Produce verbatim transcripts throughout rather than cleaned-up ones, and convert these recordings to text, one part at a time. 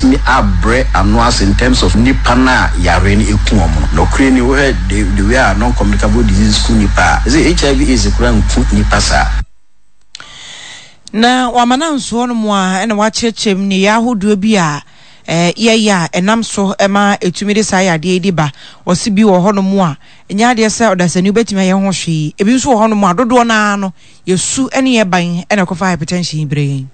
Ɛbɛtumi abrɛ ano ase in terms of nipa no a yare no ɛku wɔn no. Nɔkure ni, wohwɛ the the way a non-communicable disease ku nipa a, ɛsɛ H I V AIDS koraa nku nipa saa. Na wamana nsoɔ no mu a, ɛna wakyerɛkyerɛ mu nneyɛɛ ahodoɔ bi a ɛɛ yɛyɛ a ɛnam so ɛma etumi de saa yadeɛ yi de ba. Ɔsi bi wɔ hɔnom a ɛnyɛ adeɛ sɛ ɔdasani wobɛtumi ayɛ ho hwee. Ebi nso wɔ hɔnom a dodoɔ naa no yɛsu ne yɛ ban ɛna ɛkɔfa hypertension yi brɛ yɛn.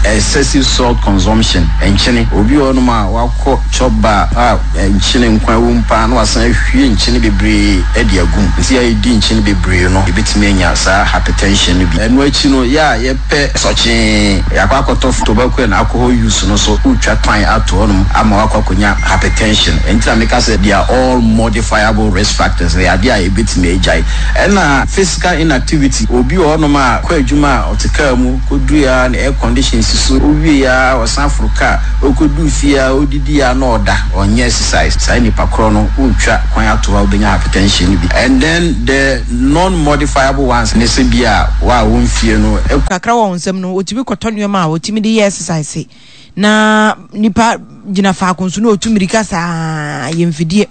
Excessive salt consumption, nkyene. Obi wɔ hɔnom a wakɔ chop bar a nkyene nkwan wɔ mu paa na wasan ahwie nkyene bebree de agu mu. Nti a yɛdi nkyene bebree no, yɛbɛtumi anya saa hypertension no bi. Ɛno akyi no, yɛ a yɛpɛ sɔkyee, yɛakɔ akɔtɔ tobacco and alcohol use no so, wotwa kwan ato hɔnom ama wakɔ akɔnya hypertension. Ɛnti na meka sɛ they are all modifiable risk factors, ɛyɛ adeɛ a yɛbɛtumi agyae. Ɛna physical inactivity, obi wɔ hɔnom a kɔ adwuma a, ɔte kaa mu kɔduru a na air condition si so, owie a ɔsan foro kaa, okɔduru fie a, odidi a na ɔda, ɔnyɛ exercise. Saa nipa korɔ no, wotwa kwan ato hɔ a, wobɛnya hypertension no bi. And then the non-modifiable ones ne sɛ bi a wa a wɔmfie no kakra wɔ wɔn nsam no, otumi kɔtɔ nneɛma a otumi de yɛ exercise na nipa gyina faako nso na otu mirika saa. Yɛ mfidie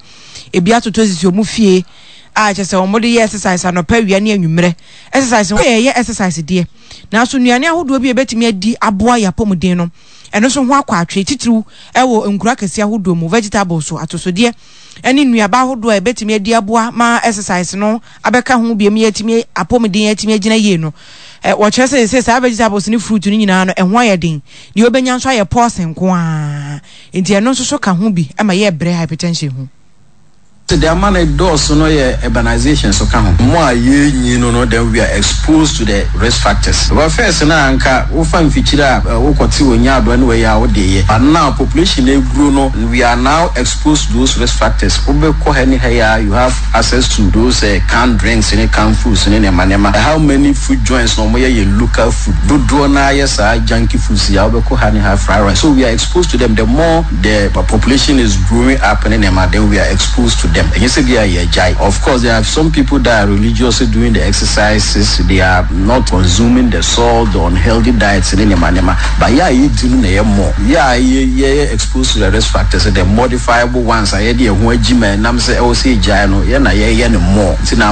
ebi atotɔ sisi wɔn fie a kyerɛ sɛ wɔn de yɛ exercise anɔpa, awia ne anwummerɛ. Exercise yɛ yɛ exercise deɛ, nanso nnuane ahodoɔ bi a ebɛtumi adi aboa yɛ apɔmuden no, ɛno nso ho akɔ atwe, titiriw ɛwɔ nkura kɛseɛ ahodoɔ mu. Vegetables so, atosodeɛ ɛne nnuaba ahodoɔ a ebɛtumi adi aboa ma exercise no abɛka ho biem, yɛtumi apɔmuden yɛtumi agyina yie no, ɛ wɔkyerɛ sɛ sɛ saa vegetables ne fruit no nyinaa no, ɛho ayɛ den. Deɛ wobɛnya nso ayɛ pɔɔse nko ara, nti ɛno nso so ka ho bi ɛma yɛ brɛ hypertension ho. Sɛ ama no dɔɔso no yɛ urbanization so ka ho. Mo a yɛnyi no no then we are exposed to the risk factors. Because first na anka wofa mfikyire a wokɔte wɔ nya adoa ne wɔyɛ a wode yɛ, but now population eguro no, we are now exposed to those risk factors. Wobɛkɔ ha ne ha yi a, you have access to those uh, canned drinks ne canned foods ne nneɛma nneɛma. How many food joints na wɔyɛ yɛ local food? Dodoɔ naa yɛ saa junky foods yi a wobɛkɔ ha ne ha, fried rice. So we are exposed to them. The more the population is growing up ne nneɛma, then we are exposed to them. Ɛnyɛ sɛ bi a yɛgyae. Of course, there are some people that are religiously doing the exercises. They are not consuming the salt, the unhealthy diets ne nneɛma nneɛma, but yɛ a yɛdi no na ɛyɛ more. Yɛ a yɛ yɛ exposed to the risk factors, the modifiable ones a yɛde ɛho agyi ma ɛnam sɛ ɛwɔ sɛ yɛgyae no, yɛ na yɛyɛ no more. Nti na